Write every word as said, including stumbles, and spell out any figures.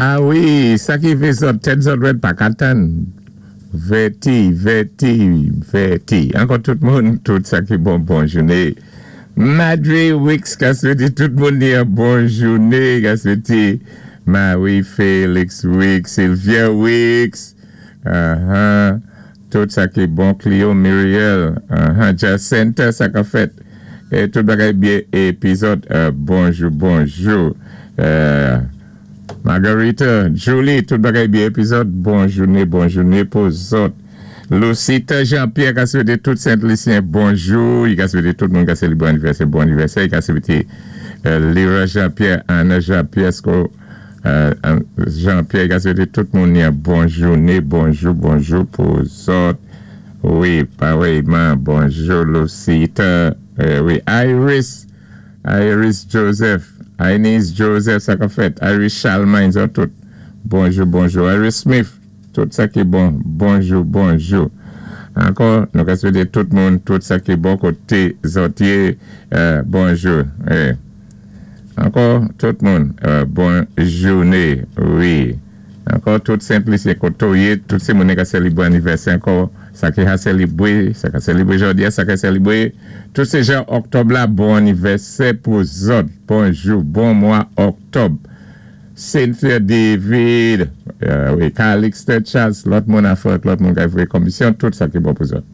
A wi, sa ki fè zòt, tèt zòt wèd pa ka tann. Vèti, Vèti, Vèti. Ankò tout moun, tout sa ki bon, bon jouné. Madre Wicks ka swété tout moun ni bon jouné, ka swété Marie Félix Wicks, Sylvia Wicks, uh-huh. Tout sa ki bon, Clio Muriel, uh-huh. Jacinta, sa ka fèt. É tout bagay byen épi zòt, euh, bonjou, bonjou. Euh, Margarita, Julie, tout bagay byen épi zòt, bon jouné, bon jouné pou zòt. Lucita Jean-Pierre ka swété tout Sent-Lisyen bonjou. I ka swété tout moun ka sélébwé anivèsè, bon anivèsè. I ka swété euh, Lyra Jean-Pierre, Anna Jean-Pierre, Sko, euh, Jean-Pierre, i ka swété tout moun ni bon jouné, bonjou, bonjou pou zòt. Wi, parèyman, bonjou Lucita. Euh, wi, Iris, Iris Joseph, Inez Joseph, sa ka fèt. Iris Charlemagne, zòt tout. Bonjou, bonjou. Iris Smith, tout sa ki bon. Bonjou, bonjou. Ankò, nou ka swété tout moun, tout sa ki bon koté zòt yé, euh, bonjou. Eh. Ankò, tout moun, euh, bon jouné, wi. Ankò, tout Sent-Lisyen koté ou yé, tout sé moun ka sélébwé anivèsè ankò, sa ki ka sélébwé, sa ka sélébwé jòdi a, sa ka sélébwé, tout sé jan òktòb la, bon anivèsè pou zòt. Bonjou, bon mwa òktòb. Cynthia David, euh, wi, Calixte Charles, lòt moun a fèt, lòt moun ka voyé konmisyon, tout sa ki bon pou zòt.